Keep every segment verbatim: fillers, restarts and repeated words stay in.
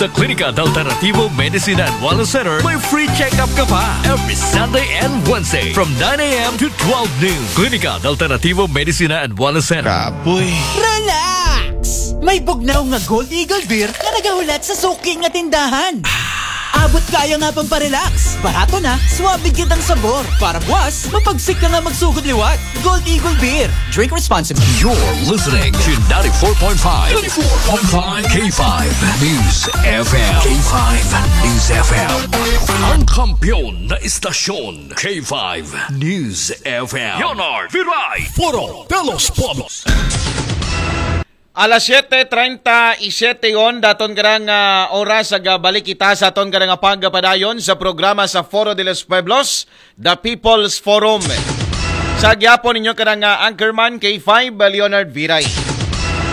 Sa Klinika de Alternativo Medicina and Wellness Center, may free check-up ka pa every Sunday and Wednesday from nine a m to twelve noon. Klinika de Alternativo Medicina and Wellness Center. Kapoy. Relax! May bugnaw nga Gold Eagle Beer nga nagahulat sa suki nga tindahan. Abot kaayo nga pamparelax. Barato na, suabe gyud ang sabor. Para buwas, mapagsik ka nga magsugod liwat. Gold Eagle Beer. Drink responsibly. You're listening to ninety-four point five, ninety-four point five K five News F M. K five News F M. Ang kampiyon na istasyon, K five News F M. Leonard Viray, Foro de los Pueblos. Alas siyete treinta y siete yon, daton karang ah, oras sa balik kita sa aton karang pagpadayon sa programa sa Foro de los Pueblos, The People's Forum. Sa gyapon ninyo karang ah, anchorman K five, ah, Leonard Viray.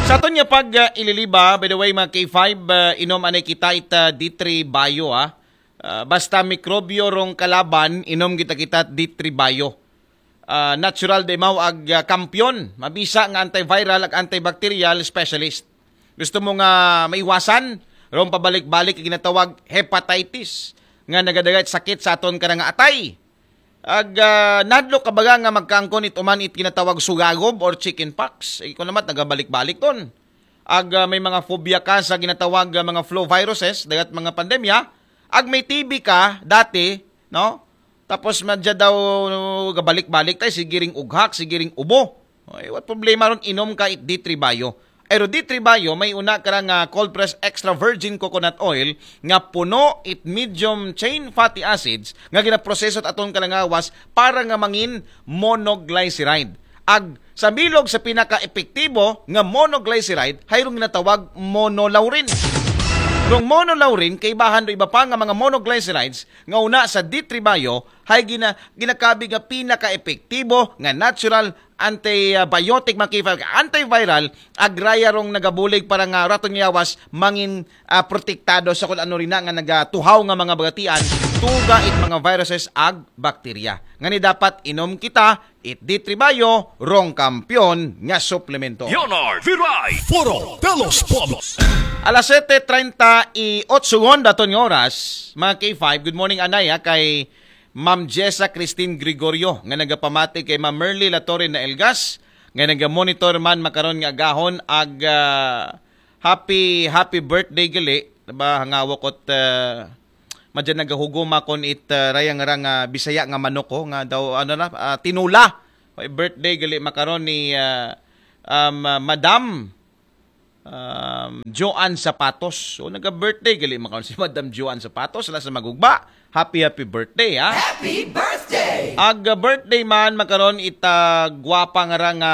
Sa aton nga pag ah, ililiba, by the way, mga K five, ah, inom anay kita ita D three Bio, ah. Ah, basta mikrobyo rong kalaban, inom kita kita D three Bio. Ah, natural di mao ag ah, kampiyon, mabisa nga antiviral ag antibacterial specialist. Gusto mo nga maiwasan rong pabalik-balik ang ginatawag hepatitis nga nagadagay sakit sa aton karang atay. Ag ah, nadlo ka baga nga magkaangkon it uman it ginatawag sugagob or chicken pox. Ikaw naman nagabalik-balik ton. Ag ah, may mga phobia ka sa ginatawag ah, mga flu viruses, dagat mga pandemya. Ag may T B ka dati, no? Tapos madya daw gabalik-balik tay, sige ring ughak, sige ring ubo. Ay, what problema ron, inom ka it D three Bio. Pero D three Bio, may una ka nga cold press extra virgin coconut oil nga puno it medium chain fatty acids nga ginaproseso at aton kalangawas para nga mangin monoglyceride. Ag sa bilog sa pinaka-epektibo nga monoglyceride, hay rong ginatawag monolaurin. Rong monolaurin, kaibahan do iba pa nga mga monoglycerides nga una sa D three Bio, hay gina, ginakabig nga pinaka-epektibo nga natural antibiotic, mga K five, antiviral, agraya rong nagabulig para nga raton yawas mangin ah, protektado sa kung ano rin na nga nagatuhaw nga mga bagatian, tuga it mga viruses ag bakterya. Ngani dapat inom kita it D three Bio, rong kampiyon nga suplemento. Leonard Viray, Foro de los Pueblos. Alas siyete treinta y ocho ngon daton nga oras, mga K five. Good morning, anay, ha, kay Ma'am Jessa Christine Gregorio nga nagapamati kay Ma'am Merly Latorre na Elgas nga nagamonitor man makaron nga agahon ag ah, happy happy birthday gali ba hangawok ot ah, madyan nagahuguma kon it ah, rayang rang ah, Bisaya nga manok ko nga daw ano na ah, tinula. Happy birthday gali makaron ni ah, um, ah, Madam um, Joanne Zapatos. So naga-birthday gali makaron si Madam Joanne Zapatos, la sa magugba. Happy happy birthday, ha. Happy birthday! Ag ah, birthday man makaron ita gwapa nga ra nga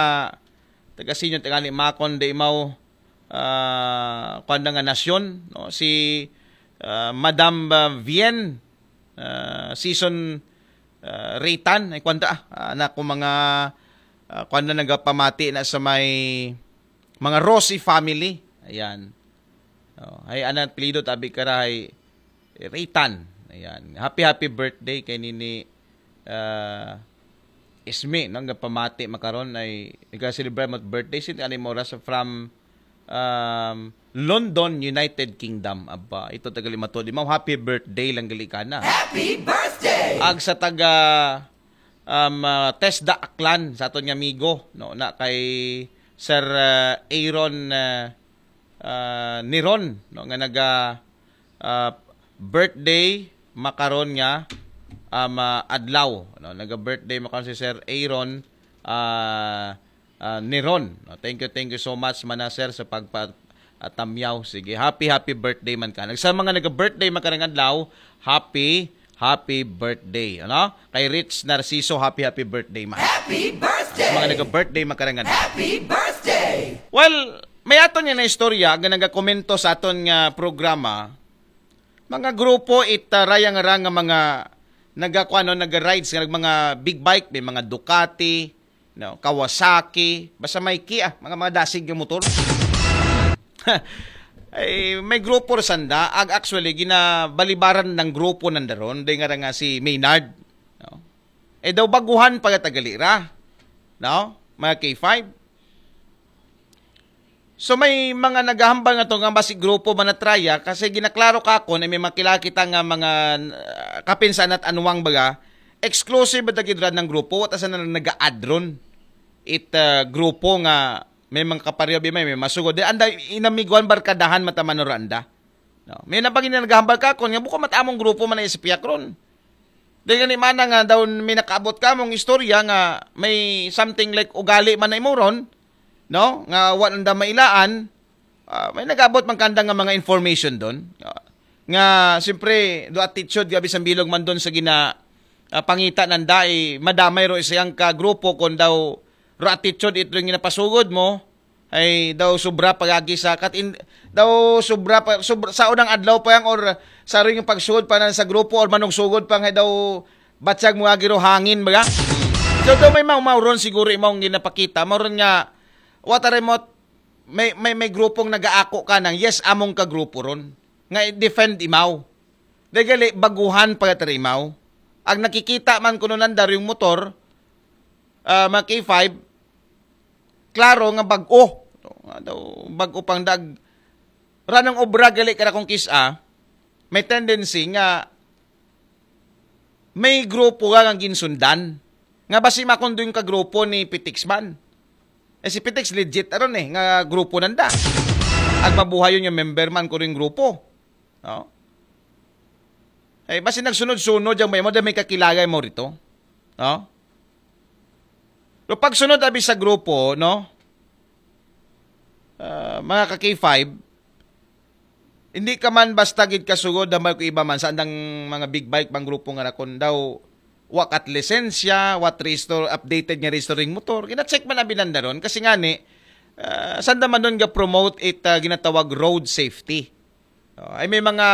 taga sinyo, taga ni makon de imaw ah, kuwan na nga nasyon, no? Si ah, Madam ah, Vien ah, Season ah, Reytan, ay kwanta ah, anak ko mga ah, kuwan na nagapamati na sa may mga Rossi family. Ayan. Oh, ay anang apelyido tabi kara ay Reytan. Ayan. Happy happy birthday kay nini ah, Ismi, no, nga pamati makaron ay nagka-celebrate mo birthday sin ani mo oras from um, London, United Kingdom. Aba, ito taga Limato di mo. Happy birthday lang gali kana. Happy birthday! Ag sa taga um, ah, Tesda Aklan sa aton nga amigo, no, na kay Sir ah, Aaron ah, ah, Niron, no, nga naga ah, birthday makaron nga um, ah, adlaw, no? Naga-birthday makaron si Sir Aaron ah, ah, Niron. No? Thank you, thank you so much mana sir sa pagpa ah, tamyaw. Sige, happy happy birthday man ka. Nagsa mga naga-birthday makaron nga adlaw, happy happy birthday, ano? Kay Rich Narciso, happy happy birthday man. Happy birthday! Mga naga-birthday makaron nga adlaw. Happy birthday! Well, may aton nga na istorya nga nagakomento sa aton nga programa. Mga grupo it uh, rayang ra nga mga nagakuano, naga-rides nga mga big bike, may mga Ducati, no, Kawasaki, basta may Kia, mga mga dasig nga motor. Ay, may grupo ra sanda, ag actually ginabalibaran ng grupo nanda ron, di nga ra nga si Maynard, no? Eh daw baguhan pagatagali ra, no? Mga K five. So may mga naghahambal nga to nga basi grupo man na traya, kasi ginaklaro ka ako na may makilala kita nga mga uh, kapinsan at anwang baga, exclusive ba gid ra nga grupo, wa ta sa na nag-add ron. It uh, grupo nga may mga kapareho, may, may masugod. Di, anda, inamiguan, barkadahan, mata man ra anda. No? May na pag naghahambal ka ako, nga buko mat among grupo man na sa piyak ron. Di gani man nga daw may nakaabot ka mong istorya nga may something like ugali man na imo ron, no? Nga wa nanda mailaan, ah, may nag-abot man kanda nga mga information doon. Ah, nga, siyempre, do attitude, gabi sa bilog man doon sa gina, ah, pangita nanda, eh, madamay ro isayang ka grupo kung daw ro attitude ito yung ginapasugod mo, ay daw sobra pagagi sa kat in, daw sobra pa sobra, sa unang adlaw pa yang or sa ring pagsugod pa nan sa grupo or manugsugod pa nga daw batyag mo agi ro hangin baga. So daw may mga mauron siguro imong ginapakita, mauron nga what are mo, may may may grupong nagaako ka nang yes among ka grupo ron nga i-defend imaw. Dahil gali baguhan pagkatarimaw. Ang nakikita man kuno nanda yung motor, ah, mga K five, klaro nga bag-o. Nga daw, bag-o pang dag. Ranong obra gali ka na kung kisa, may tendency nga may grupo nga nga ginsundan. Nga basi makundo yung kagrupo ni Pitix man. Eh si Pitix legit aron eh, nga grupo nanda. Ag mabuhayon yung member man ko rin grupo. No? Eh, basi nagsunod-sunod yung may mo, dahil may kakilala mo rito. No? Pero pagsunod abi sa grupo, no? Ah, mga ka K five, hindi ka man basta gid kasugod damal ko iba man sa andang mga big bike bang grupo nga nakon daw wa kat lisensya, what restore, updated nga restoring motor. Gina-check man abi nanda ron kasi nga ni, ah, sanda man doon ga promote it ah, ginatawag road safety. Oh, ay may mga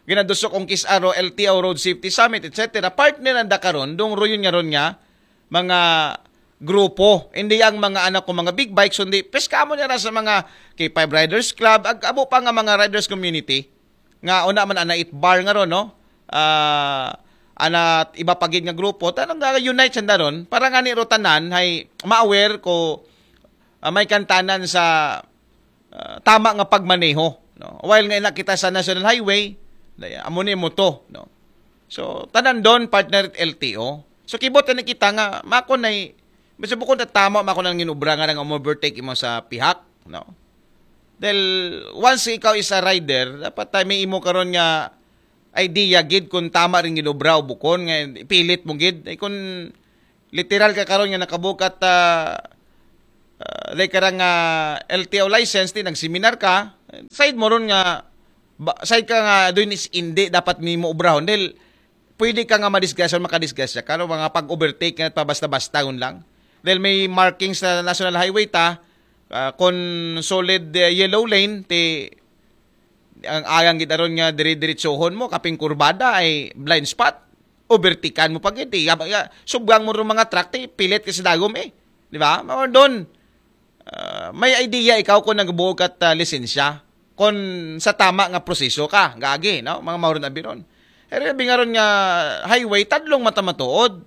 ginadusok ang kisaro, L T O Road Safety Summit, et cetera. Partner ang dakaron, dong royon nga ron nga, mga grupo. Hindi ang mga anak ko, mga big bikes, hindi. Pes ka mo niya sa mga K five Riders Club, ag abo pa nga mga riders community. Nga una man ana it bar nga ron, no? Ah, ana iba pagid nga grupo, tanong nga unite sa daron, para nga ni rotanan, hay ma-aware ko ah, may kantanan sa ah, tama nga pagmaneho, no? While nga ina kita sa National Highway, daya, amo ni mo to, no? So, tanan doon, partner, L T O. So, kibot na kita nga, mako na, basta bukod na tama, mako nang ginubra nga nang overtake imo sa pihak, no? Dahil, once ikaw is a rider, dapat tayo may imo karon nga idea gid kung tama rin ginubra o bukon, nga ipilit mo gid. Ay, kung literal ka karon nga nakabukat ah uh, like karang uh, L T O license, ti nagseminar ka, side mo ron nga ba, side ka nga doon is hindi dapat nimo obrahon dahil pwede ka nga madisgrasya o makadisgrasya ka no, mga pag-overtake nga pabasta-basta yun lang. Dahil may markings sa National Highway ta, uh, kung solid uh, yellow lane, ti ang ayang gid aron nga dire-diretsohon mo kaping kurbada ay blind spot, overtikan mo pa gid, eh. Yaba-, ya-, subgang mo rin mga truck, ti pilit ka sa dagom, eh. Di ba? Mao doon, ah, may idea ikaw kung nagbuo ka at ah, lisensya. Kung sa tama nga proseso ka, gagi, no? Mga mauron abiron. Pero bingaron nga highway, tadlong mata matuod.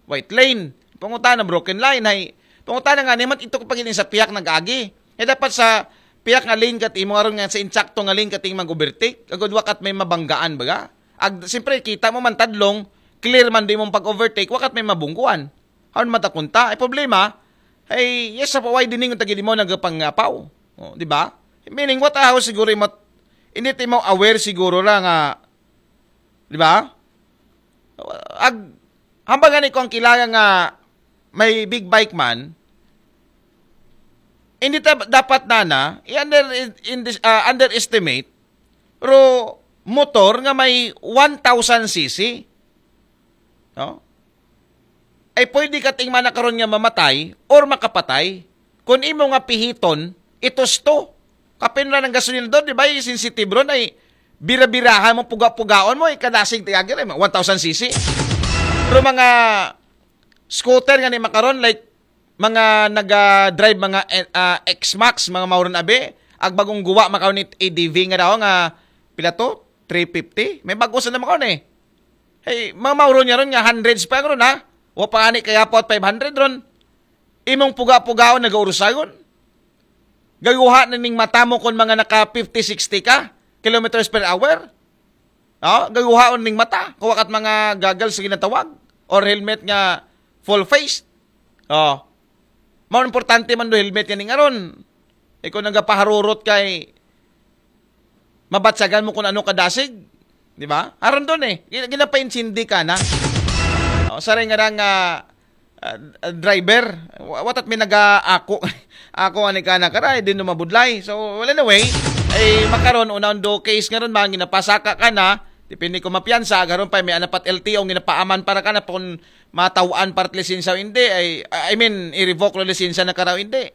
White lane. Pangutana, broken line. Hay, pangutana nga, niman ito ko pagin sa piyak nag-agi. Eh, dapat sa piyak nga lane kat imo aron nga sa insakto nga lane kat imo mag-overtake. Agod wakat may mabanggaan, baga? Ag, siyempre, kita mo man tadlong, clear man di mong pag-overtake, wakat may mabungkuan. Haon matakunta? Ay problema, ay yes, sa paway din yung tagid mo nagpangapaw. Oh, di ba? Meaning, what a house siguro yung mat-, hindi ti mo aware siguro ra nga, di ba? Ag, hambang gani ko ang kilala nga may big bike man, hindi ta-, dapat na na, i-under, in, in, uh, underestimate, pero motor nga may one thousand C C. No? Ay pwede ka ting mana karon nga mamatay or makapatay. Kung imo nga pihiton, itos to. Kapin ra ng gasolina doon, di ba? Yung sensitive ron ay bira-birahan mo, puga-pugaon mo, ikadasig tiyagir, eh, one thousand C C. Pero mga scooter nga ni makaron, like, mga naga-drive, mga eh, ah, X-Max, mga mauron abi, ag bagong guwa makaron ni A D V nga daw nga, pila to? Three fifty? May bago sa naman karon eh. Hey, mga mauron niya ron nga hundreds pa ron ha. Wa pa ani kaya pa five hundred ron. Imong puga-pugaon nagaurusagon. Gayuha na ning mata mo kung mga naka fifty, sixty ka kilometers per hour. Oh, gayuhaon ning mata. Kuha kat mga goggles sa ginatawag or helmet nga full face. Oh. Mao importante man do helmet nga ning aron. Ikaw nagapaharurot kay mabatsagan mo kung ano kadasig, di ba? Aron doon eh. Gina- Ginapaintindi ka na. Oh, saray nga rang ah, ah, driver, wa- watat may naga-ako. Ako ani ka na karay, din mabudlay. So, well, anyway, ay makaron unang do case nga ron man ginapasaka ka na, depende ko mapiyansa, garon pa may anapat L T O ang ginapaaman para ka na pun matawan para lisensya o hindi, ay, I mean, i-revoke lo lisensya na karaw hindi.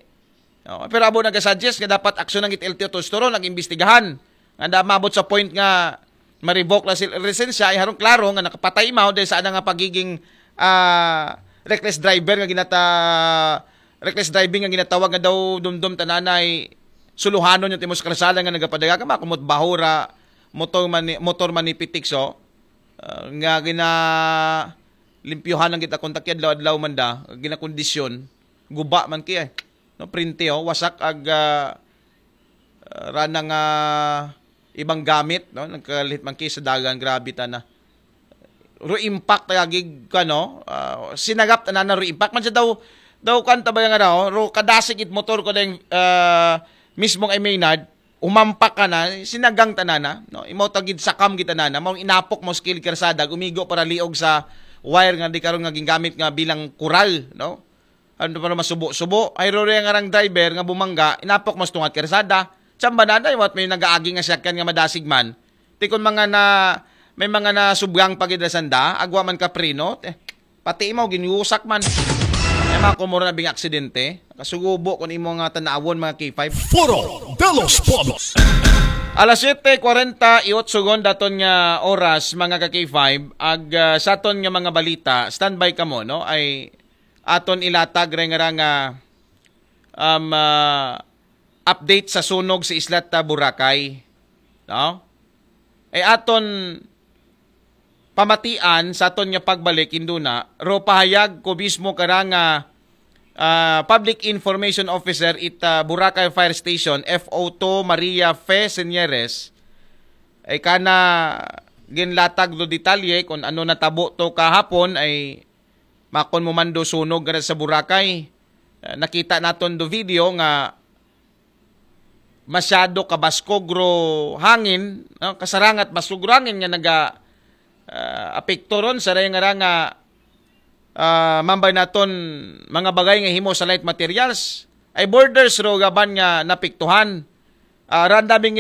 Oh, pero abo nagasuggest nga dapat aksyon ng it L T O to storo nag-imbestigahan. Nga da mabot sa point nga ma-revoke na sila lisensya ay harong klaro nga nakapatay mao dahil sa nga pagiging ah, reckless driver nga ginata reckless driving nga ginatawag nga daw dumdum tananay suluhanon yung timos karsada nga nagapadaga ka makumot bahura motor man ni, motor man ni Pitikso ah, nga gina limpyuhan ang kita kontak adlaw-adlaw man da ginakondisyon guba man kay no printe oh wasak ag ah, ah, rana nga ibang gamit no nagkalit man kay sa dagan grabe ta na ro impact lagi kano ah, sinagap tanan na ro impact man siya daw daw kan tabay nga daw ro kadasig it motor ko ding ah, mismong ay Maynard umampak ka na sinagang tanana no imo tagid sakam gid tanana mao inapok mo skill kersada gumigo para liog sa wire nga di karon nga gingamit nga bilang kural no ano para masubo-subo ay ro nga rang driver nga bumangga inapok mas tungat kersada samba na day wat may nagaagi nga sakyan nga madasig man tikon mga na may mga na subyang pagidasanda agwa man ka preno eh, pati imaw ginyusak man ay mga kumura na bing aksidente kasugubo kun imo nga tanawon mga K five Foro de los Pueblos. Alas siete kuwarenta y ocho gon daton nga oras mga ka K five ag ah, sa aton nga mga balita standby kamo no ay aton ilatag ray nga ra nga um, ah, update sa sunog sa isla ta Boracay no ay aton pamatian sa aton nga pagbalik induna ro pahayag ko mismo kara nga ah, Public Information Officer it ah, Boracay Fire Station F O two Maria Fe Señeres ay kana ginlatag do detalye kung ano natabo to kahapon ay makon mo man do sunog nga sa Boracay. Ah, nakita naton do video nga masyado kabaskog ro hangin, no? Kasarangat baskog ro hangin nga naga ah, apekto ron sa nga ra nga ah, mambay naton mga bagay nga himo sa light materials ay borders ro gaban nga napiktuhan. Ah, randaming